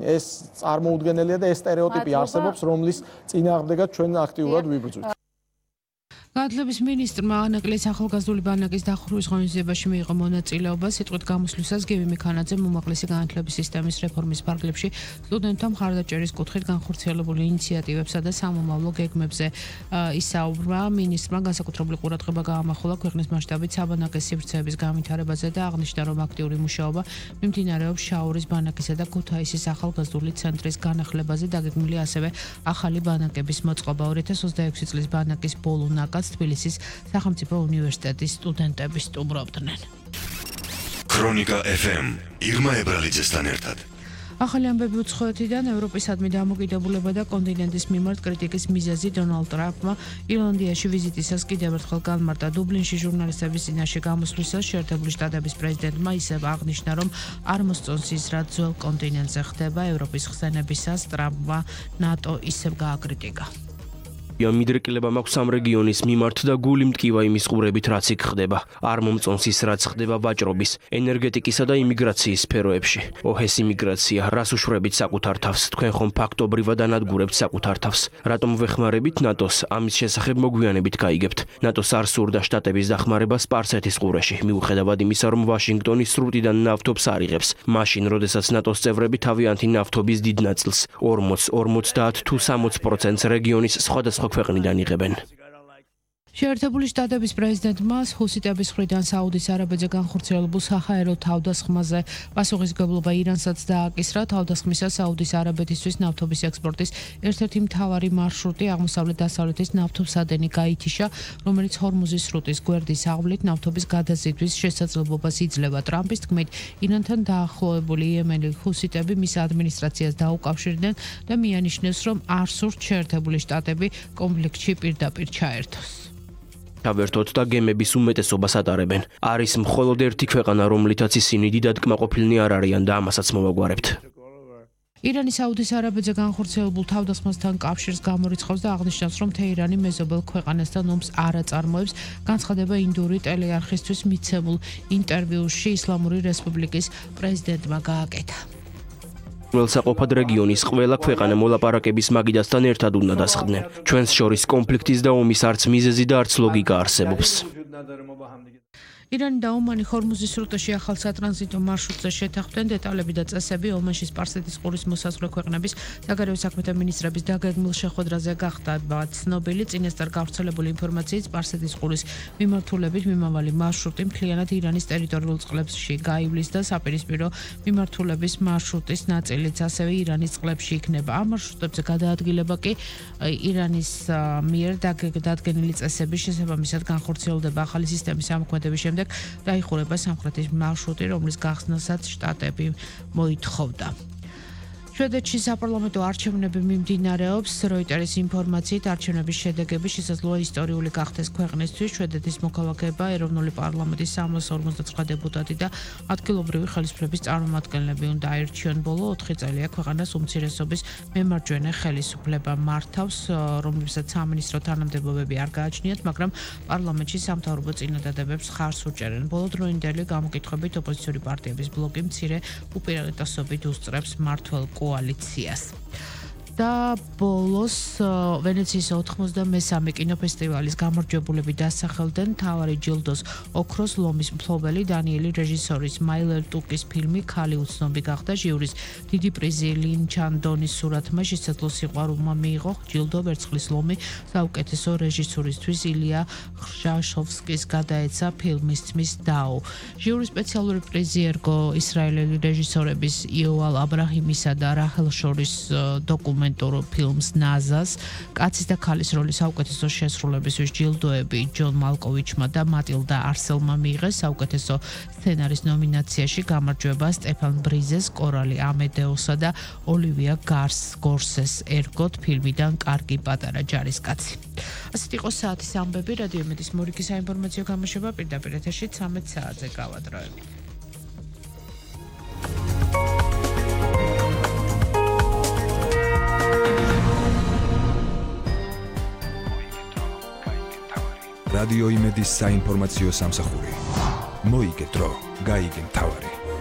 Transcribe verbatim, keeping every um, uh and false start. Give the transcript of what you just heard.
ეს წარმოუდგენელია და ეს სტერეოტიპი არსებობს, რომლის წინააღმდეგაც ჩვენ აქტიურად ვიბრძვით. განათლების მინისტრმა ანაკლეს ახალგაზრდული ბანაკის დახურვის ღონისძიებაში მიიღო მონაწილეობა. სიტყვით გამოსვლისას გივი მიქანაძე უმაღლესი განათლების სისტემის რეფორმის ფარგლებში სტუდენტთა მხარდაჭერის კუთხით განხორციელებული ინიციატივებსა და სამომავლო გეგმებზე ისაუბრა. მინისტრმა განსაკუთრებული ყურადღება გაამახვილა ქვეყნის მასშტაბით საბანაკე სივრცეების განვითარებაზე და აღნიშნა, რომ აქტიური მუშაობა მიმდინარეობს შაორის ბანაკისა და ქუთაისის ახალგაზრდული ცენტრის განახლებაზე. დაგეგმილი ასევე ახალი ბანაკების მოწყობა. ორი ათას ოცდაექვსი წლის ბანაკის ბოლო ნაკადს თბილისის სახელმწიფო უნივერსიტეტის სტუდენტები სტუმრობდნენ. ქრონიკა ეფ ემ ირმა ებრალიძესთან ერთად. ახალი ამბები უცხოეთიდან ევროპისადმი დამოკიდებულება და კონტინენტის მიმართ კრიტიკის მიზეზი დონალდ ტრამპმა ირლანდიაში ვიზიტისას კიდევ ერთხელ განმარტა. დუბლინში ჟურნალისტების წინაშე გამოსვლისას შეერთებული შტატების პრეზიდენტმა ისევ აღნიშნა, რომ არ მოსწონს ის, რაც ძველ კონტინენტზე ხდება. ევროპის ხსენებისას ტრამპმა ნატო ისევ გააკრიტიკა. მიდრეკილება მაქვს ამ რეგიონის მიმართ და გული მტკივა იმის ყურებით, რაც იქ ხდება. არ მომწონს ის, რაც ხდება ვაჭრობის, ენერგეტიკისა და იმიგრაციის სფეროებში. ოჰეს იმიგრაცია, რას უშვრებით საკუთარ თავს, თქვენ ხომ ფაქტობრივად ანადგურებთ საკუთარ თავს. რატომ ვეხმარებით ნატოს? ამის შესახებ მოგვიანებით გაიგებთ. ნატოს არ სურდა შტატების დახმარება სპარსეთის ყურეში, მიუხედავად იმისა, რომ ვაშინგტონი სრუტიდან ნავთობს არ იღებს. მაშინ, როდესაც ნატოს წევრები თავიანთი ნავთობის დიდ ნაწილს, ორმოც, ორმოცდაათ თუ სამოც პროცენტს რეგიონის სხვადასხვა ქვეყნიდან იღებენ. შეერთებული შტატების პრეზიდენტმა ჰუსიტების მხრიდან საუდის არაბეთზე განხორციელებულ საჰაერო თავდასხმაზე პასუხისმგებლობა ირანსაც დააკისრა. თავდასხმისას საუდის არაბეთისთვის ნავთობის ექსპორტის ერთ-ერთი მთავარი მარშრუტი აღმოსავლეთ-დასავლეთის ნავთობსადენი გაითიშა, რომელიც ჰორმუზის სრუტის გვერდის ავლით ნავთობის გადაზიდვის შესაძლებლობას იძლევა. ტრამპის თქმით, ირანთან დაახლოებული იემენელი ჰუსიტები მის ადმინისტრაციას დაუკავშირდნენ და მიანიშნეს, რომ არ სურთ შეერთებული შტატები კონფლიქტში პირდაპირ ჩაერთოს. თავერთოთ და გემების უმეტესობას ატარებენ. არის მხოლოდ ერთი ქვეყანა, რომლითაც ისინი დიდად კმაყოფილნი არ არიან და ამასაც მოვაგვარებთ. ირანი საუდის არაბეთზე განხორციელებულ თავდასხმასთან კავშირს გამორიცხავს და აღნიშნავს, რომ თეირანი მეზობელ ქვეყანასთან ომს არ აწარმოებს. განცხადება ინდური ტელეარხისთვის მიცემულ ინტერვიუში ისლამური რესპუბლიკის პრეზიდენტმა გააკეთა. ველსაყოფად რეგიონის ყველა ქვეყანა მოლაპარაკების მაგიდასთან ერთად უნდა დასხდნენ. ჩვენს შორის კონფლიქტის და ომის არც მიზეზი და არც ლოგიკა არსებობს. ირანი და ომანი ჰორმუზის სრუტეში ახალ სატრანზიტო მარშრუტზე შეთანხმდნენ. დეტალები და წესები ომანში სპარსეთის ყურის მოსაზღვრე ქვეყნების საგარეო საქმეთა მინისტრების დაგეგმილ შეხვედრაზე გახდება ცნობილი. წინასწარ გავრცელებული ინფორმაციით სპარსეთის ყურის მიმართულებით მიმავალი მარშრუტი მთლიანად ირანის ტერიტორიულ წყლებში გაივლის და საპირისპირო მიმართულების მარშრუტის ნაწილიც ასევე ირანის წყლებში იქნება. ამ მარშრუტებზე გადაადგილება კი ირანის მიერ დადგენილი წესების შესაბამისად განხორციელდება. ახალი სისტემის ამოქმედების შემდეგ დაიხურება სამხრეთის მარშრუტი, რომლის გახსნასაც შტატები მოითხოვდა. შვედეთში საპარლამენტო არჩევნები მიმდინარეობს. როიტერის ინფორმაციით არჩევნების შედეგები შესაძლოა ისტორიული გახდეს ქვეყნისთვის. შვედეთის მოქალაქეება ეროვნული პარლამენტის სამას ორმოცდაცხრა დეპუტატი და ადგილობრივი ხელისუფლების წარმომადგენლები უნდა აირჩიონ. ბოლო ოთხი წელია ქვეყანას უმცირესობის მემარჯვენე ხელისუფლება მართავს, რომლებსაც სამინისტრო თანამდებობები არ გააჩნიათ, მაგრამ პარლამენტში სამთავრობო წინადადებებს ხარს უჭერენ. ბოლოდროინდელი გამოკითხვებით ოპოზიციური პარტიების ბლოკი მცირე უპირატესობით უსწრებს მმართველ კოალიციას. და ბოლოს ვენეციის ოთხმოცდამესამე კინოფესტივალის გამარჯვებულები დასახელდნენ. მთავარი ჯილდოს ოქროს ლომის მფლობელი დანიელი რეჟისორის მაილერ ტუკის ფილმი ქალი უცნობი გახდა. ჟიურის დიდი პრიზი ლინ ჩანდონის სურათმა შესაძლო სიყვარულმა მიიღო. ჯილდო ვერცხლის ლომი საუკეთესო რეჟისურისთვის ილია ხრშაშოვსკის გადაეცა ფილმის თმის დაო. ჟიურის სპეციალური პრიზი ერგო ისრაელელი რეჟისორების იოვალ აბრაჰიმისა და რაჰელ შორის დოკუმენტ ფილმს ნაზას. კაცის და ქალის როლის საუკეთესო შესრულებისთვის ჯილდოები ჯონ მალკოვიჩმა და მატილდა არსელმა მიიღეს. საუკეთესო სცენარის ნომინაციაში გამარჯვება სტეფან ბრიზეს, კორალი ამედეოსა და ოლივია გარს გორსეს ერგოთ ფილმიდან კარგი პატარა ჯარისკაცი. ასეთ იყო საათის ამბები. რადიო იმედის მორიგი საინფორმაციო გამოშვება პირდაპირ ეთერში ცამეტ საათზე გავადროებით. რადიო იმედის საინფორმაციო სამსახური. მოიგე დრო, გაიგე მთავარი.